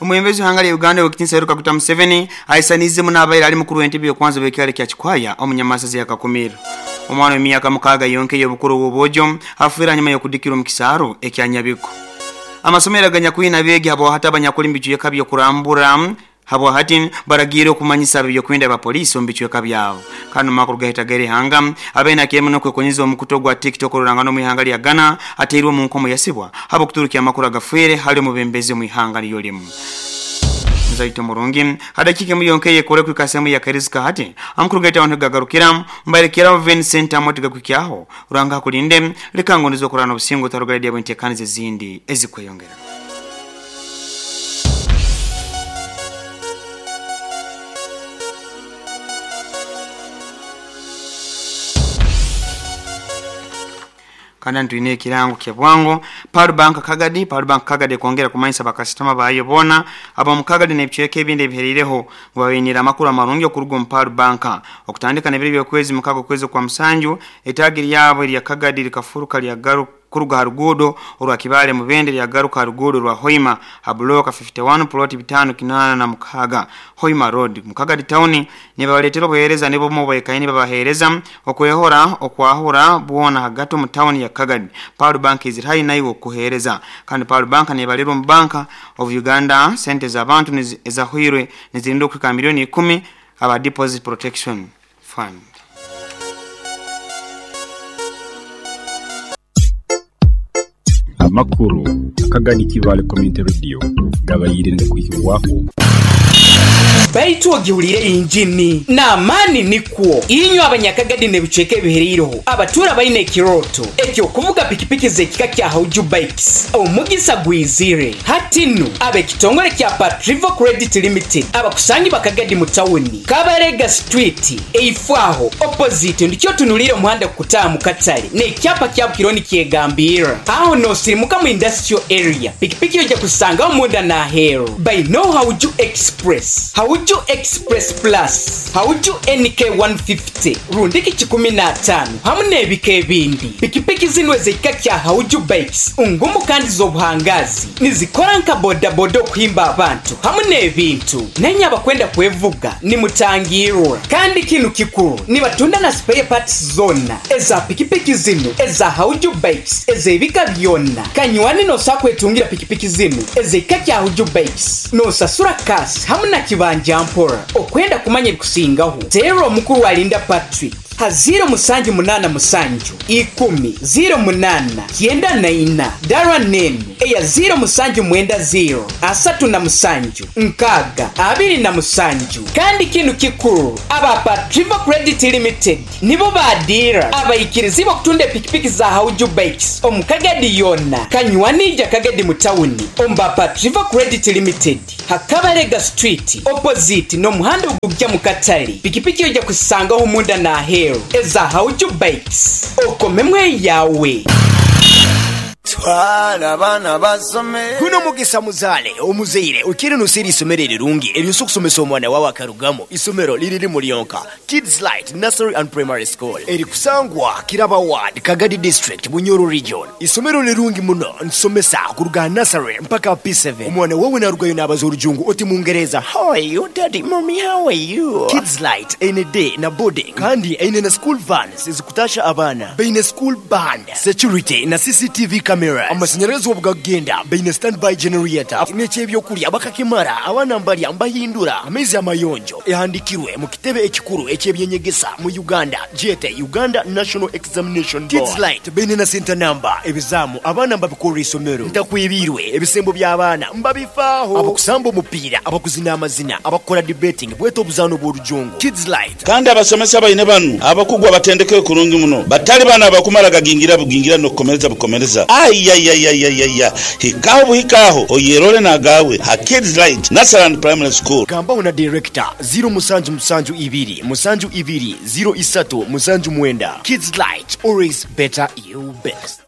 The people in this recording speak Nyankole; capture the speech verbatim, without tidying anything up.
Omwembezi w'ihanga lya Uganda w'ekitiinisa Yoweri Kaguta Museveni aisaniize muno abaire ali mukuru w'entebe y'okwanza bw'ekyaro kya Kikwaya omunyamasazi ya Kakumiro. Omwana w'emyaka mukaaga yonka ey'obukuru bw'obwojo afiire hanyuma y'okudikirwa omu kisaaro ekya Nyabiko. Amasomero aganyakwine abeegi habwahati abanyakuli mu bicweka by'okurambura habwahati baragiire okumanyisa ab'ebyokwerinda ba poliisi omu bicweka byabo. Kandi omu makuru gahitagaire ihanga abaine akiremu n'okwekonyeza omukutu ogwa TikTok orurangano omu ihanga lya Ghana ateirwe omu nkomo yasibwa habw'okuturukya amakuru agafiire hali omubembezi omu ihanga niryo limu. Nzaito murungi hadakika emu yonka eyekore kwikasemu ya Karizika hati amakuru gaita abantu gagarukira mbarekeraho Vincent Amoti gakwikyaho Ruhanga akulinde leka ngondizo okurana obusingo tarugaredia bwentekanize ezindi ezikweyongera. Kandi ntwine ekirango kya bwango Pearl Bank Kagadi. Pearl Bank Kagadi kwongera kumanyisa bakasitoma bayo bona aba Kagadi n'ebicweka ebindi ebiherireho ngu babainire amakuru amarungi okuruga omu Pearl Bank okutandika n'ebiro by'okwezi mukaaga okwezi kwa musanju etaagi ryabo erya Kagadi likafuruka lyagaruka kuruga ha ruguudo orwa Kibaale Mubende lyagaruka ha ruguudo rwa Hoima ha bloka fifty one plot bitano kinaana na mukaaga Hoima Road Mukagadi town. Nibabaletera obuheereza nibo bwekaini babaheereza okwehora okwahura bwona hagati omu town ya Kagadi. Pearl Bank iziri haihi naiwe okuheereza. Kandi Pearl Bank nebalirwa omu Bank of Uganda sente z'abantu ezahwirwe nizirinda okuhika milioni ikumi aba Deposit Protection Fund. Amakuru Akagadi Kibaale Community Radio gabaire ngakwihibwaho. Baitu ogiwulire injini n'amaani nikwo inywe abanyakagadi n'ebicweka ebihereireho abatuura baine ekirooto ekyokuvuga pikipiki z'ekika kya Hauju Bikes omugisa gwizire hatinu ab'ekitongole kya Patrivo Credit Limited abakusangi bakagadi mu tawuni Kabarega Street eifwaho opposite ndikyo otunulire omuhanda kukutaaha mu katale n'ekyapa kya Bukironi kyegambirra aho n'osirimuka mu industrial area pikipiki ojja kusangaho munda n'aheeru baino Hauju Express, Hauju Express Plus, Hauju N K one fifty, rundiki kikumi na ataano hamu n'ebika ebindi. Pikipiki zino ez'ekika kya Hauju Bikes ngumu kandi z'obuhangazi nizikora nka bodaboda okuhimba abantu hamu n'ebintu. Nenye abakwenda kwevuga nimutangirwa. Kandi kinu kikuru nibatunda na spare parts zona eza pikipiki zino eza Hauju Bikes ez'ebika byonna. Kanywani nosa kwetungira pikipiki zino ez'ekika kya Hauju Bikes nosasura kasi hamu na kibanja mpora. Okwenda kumanya ebikusingaho teera omukuru Alinda Patrick ha ziro musanju munana musanju ikumi ziro munana kyenda na ina dara nenu eya ziro musanju mwenda ziro asatu na musanju nkaga abiri na musanju. Kandi kinu kikuru aba Patrivo Credit Limited nibo badira abayikirizi bakutunda pikipiki za Hauju Bikes omukagadi yonna kanywanija Kagadi mu tawuni omba Patrivo Credit Limited Hakabarega Street opposite n'omuhanda ogujja mu katale. Pikipiki ojja kusangaho munda n'aheeru eza Hauju Bikes okomemwe yawe. Twala abaana basome. Guno mugisa muzaale omuzaire okiri nusiri isomero erirungi eryosa okusomesa omwana wawe akarugamo. Isomero liriri mulyonka Kids Light Nursery and Primary School erikusangwa Kiraba Ward, Kagadi District, Bunyoro Region. Isomero lirungi muno nsomesa kuruga nursery mpaka P seven. Omwana wawe narugayo n'abaza orujungu oti Mungereza, how are you daddy, mommy, how are you? Kids Light eine day na boarding kandi eine na school vans ezikutasha abaana baine school band, security na C C T V cameras. Amashanyarazi obugagenda baine standby generator n'ekyebyokulya bakakimara abaana mbalya mbahindura amaizi amayonjo ehandikirwe mu kitebe ekikuru ekyebyenyegesa mu Uganda jete Uganda National Examination Board. Kids Light baine na center number ebizamu abaana mbabikora isomero ntakwibirwe ebisembo by'abaana mbabifaaho abakusamba omupiira abakuzina amazina abakora debating bweta obuzaano bw'orujungu. Kids Light kandi abasomesa baine banu abakugwa batendeke kurungi muno batali bana abakumara gagingira bugingira n'okukomereza bukomereza. Ayayayayaya hikaho buhikaho oyerole nagawe ha Kids Light Nursery and Primary School. Gambaho na director zero musanju musanju ibiri musanju ibiri zero isatu musanju mwenda. Kids Light, always better you best.